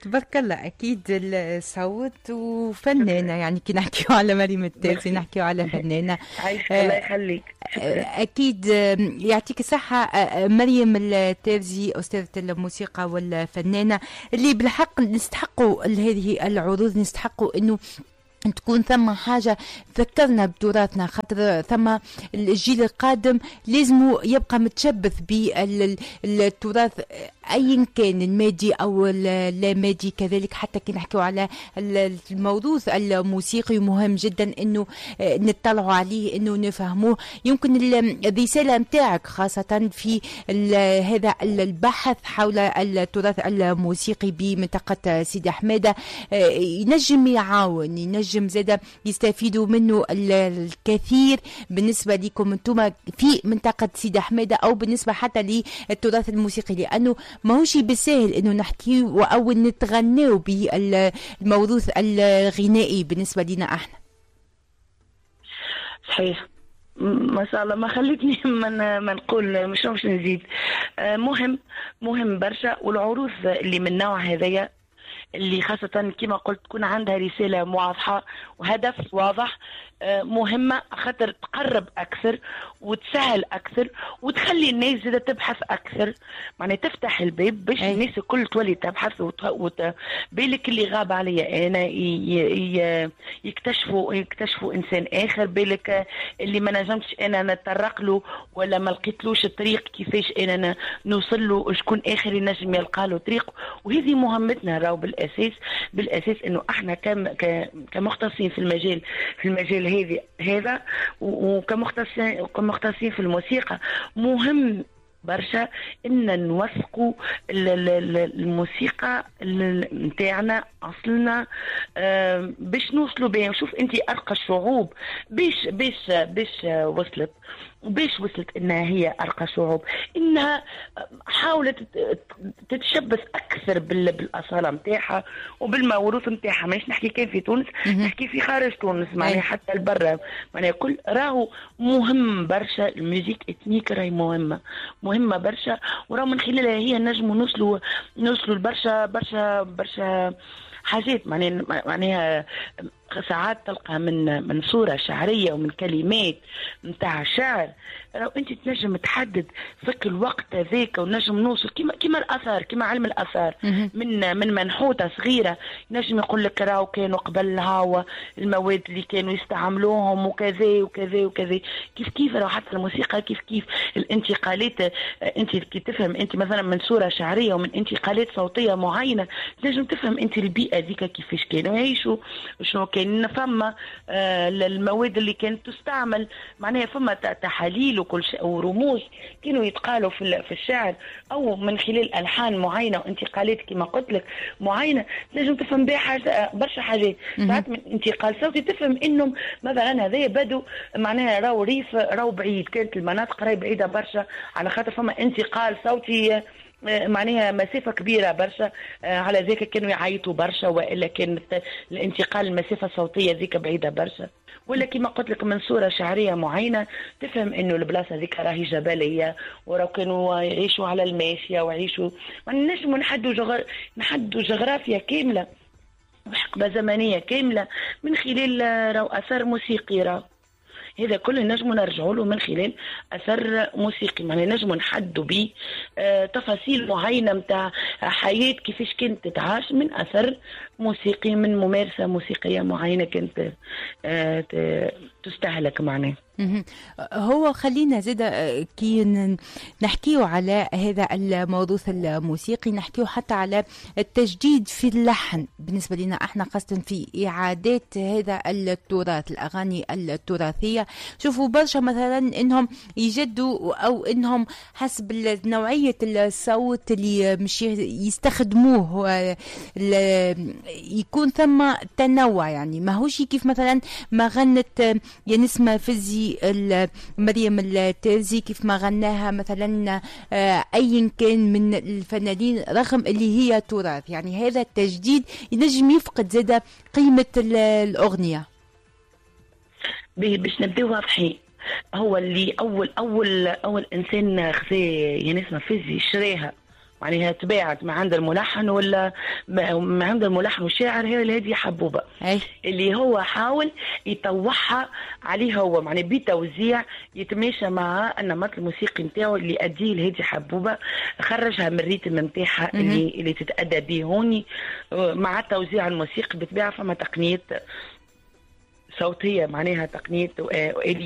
تبارك الله، اكيد الصوت وفنانه، يعني كي نحكيو على مريم التازي نحكيو على فنانه. عايشك، الله يخليك. اكيد يعطيك الصحة مريم التازي، استاذه الموسيقى والفنانه اللي بالحق نستحقوا هذه العروض، نستحقوا انه تكون ثم حاجة تذكرنا بتراثنا، خاطر ثم الجيل القادم لازم يبقى متشبث بالتراث أيا كان المادي أو اللامادي. كذلك حتى كي نحكيو على الموروث الموسيقي مهم جدا أنه نطلعوا عليه، أنه نفهموه. يمكن الرسالة متاعك خاصة في هذا البحث حول التراث الموسيقي بمنطقة سيدي حمادة ينجم يعاون، ينجم زادة يستفيدوا منه الكثير بالنسبة لكم انتم في منطقة سيدي حمادة، أو بالنسبة حتى للتراث الموسيقي، لأنه ماهوش بالساهل أنه نحكيو أو نتغناو بالموروث الغنائي بالنسبة لنا احنا. صحيح، ما شاء الله، ما خليتني ما نقول مش باش نزيد. مهم برشا، والعروض اللي من نوع هذايا اللي خاصة كما قلت تكون عندها رسالة واضحة وهدف واضح، مهمة خاطر تقرب أكثر وتسهل أكثر وتخلي الناس زادة تبحث أكثر، معناها تفتح الباب باش الناس الكل تولي تبحث بالك اللي غاب عليا أنا يكتشفوا إنسان آخر، بالك اللي ما نجمتش أنا نتطرق له ولا ما لقيتلوش الطريق كيفاش أنا نوصل له، شكون آخر ينجم يلقى له طريق. وهذه مهمتنا راهو بالأساس إنه إحنا كمختصين في المجال هذا وكمختصين في الموسيقى، مهم برشا ان نوثقوا الموسيقى نتاعنا اصلنا، باش نوصلوا بها. شوف انت ارقى الشعوب باش باش باش وصلت، باش وصلت انها هي ارقى شعوب، انها حاولت تتشبث اكثر بالاصاله نتاعها وبالموروث نتاعها. مانيش نحكي كان في تونس، نحكي في خارج تونس، معناها حتى البرة، معناها كل راهو مهم برشا. ال musique ethnique راهي مهمة برشا، وراهو من خلالها هي نجموا نوصلوا لبرشا برشا برشا حاجات. معناها ساعات تلقى من صورة شعرية ومن كلمات نتاع شعر، لو انت تنجم تحدد فك الوقت هذاك ونجم نوصل كيما الاثار، كيما علم الاثار، من منحوته صغيرة نجم يقول لك راهو كانوا قبل هاو المواد اللي كانوا يستعملوهم وكذا وكذا وكذا. كيف كيف راهو حتى الموسيقى كيف كيف الانتقالات، انت كي تفهم انت مثلا من صوره شعرية ومن انتقالات صوتية معينة تنجم تفهم انت البيئة ذيك كيفاش كانوا يعيشوا، شنو كان فما المواد اللي كانت تستعمل، معناها فما تحاليل وكل شيء ورموز كانوا يتقالوا في الشعر او من خلال الحان معينة وانتقالات كما قلت لك معينة تنجم تفهم بها حاجة برشا حاجات. ساعات من انتقال صوتي تفهم انهم مثلا هذايا بدو، معناها راهو ريف، راهو بعيد، كانت المناطق راهي بعيدة برشا على خاطر فما انتقال صوتي معناها مسافة كبيرة برشا، على ذاك كانوا يعيطوا برشا، وإلا كانت الانتقال المسافة الصوتية ذيك بعيدة برشا. ولا كما قلت لك من صورة شعرية معينة تفهم انه البلاصة ذيك راهي جبلية وراه كانوا يعيشوا على الماشية ويعيشوا، نجموا نحدوا جغرافيا كاملة وحقبة زمنية كاملة من خلال راهو أثر موسيقي. راهو هذا كله نجموا نرجعوا له من خلال اثر موسيقي، معناها نجموا نحدوا به تفاصيل معينة نتاع حياة كيفاش كانت تتعاش من اثر موسيقي، من ممارسة موسيقية معينة كانت تستهلك معناها. هو خلينا زاد كي نحكيو على هذا الموروث الموسيقي نحكيو حتى على التجديد في اللحن بالنسبة لنا احنا، خاصة في إعادات هذا التراث، الأغاني التراثية. شوفوا برشا مثلا انهم يجدوا او انهم حسب نوعية الصوت اللي مش يستخدموه يكون ثم تنوع، يعني ماهوش كيف مثلا ما غنت يا نسمة فزي مريم التازي كيف ما غناها مثلا ايا كان من الفنانين، رغم اللي هي تراث. يعني هذا التجديد ينجم يفقد زاد قيمة الأغنية. باش نبداو واضحين، هو اللي اول اول اول انسان خذا يا نسمة فزي شراها معناها تباعت ما عند الملحن ولا ما عند الملحن والشاعر هي الهادي حبوبه. اللي هو حاول يطوعها عليه هو، معناها بتوزيع يتماشى مع النمط الموسيقي نتاعو اللي أديه الهادي حبوبه، خرجها من ال rythme نتاعها اللي تتأدى به هوني مع التوزيع الموسيقي. بالطبيعة فما تقنية صوتيه، معناها تقنية واليات.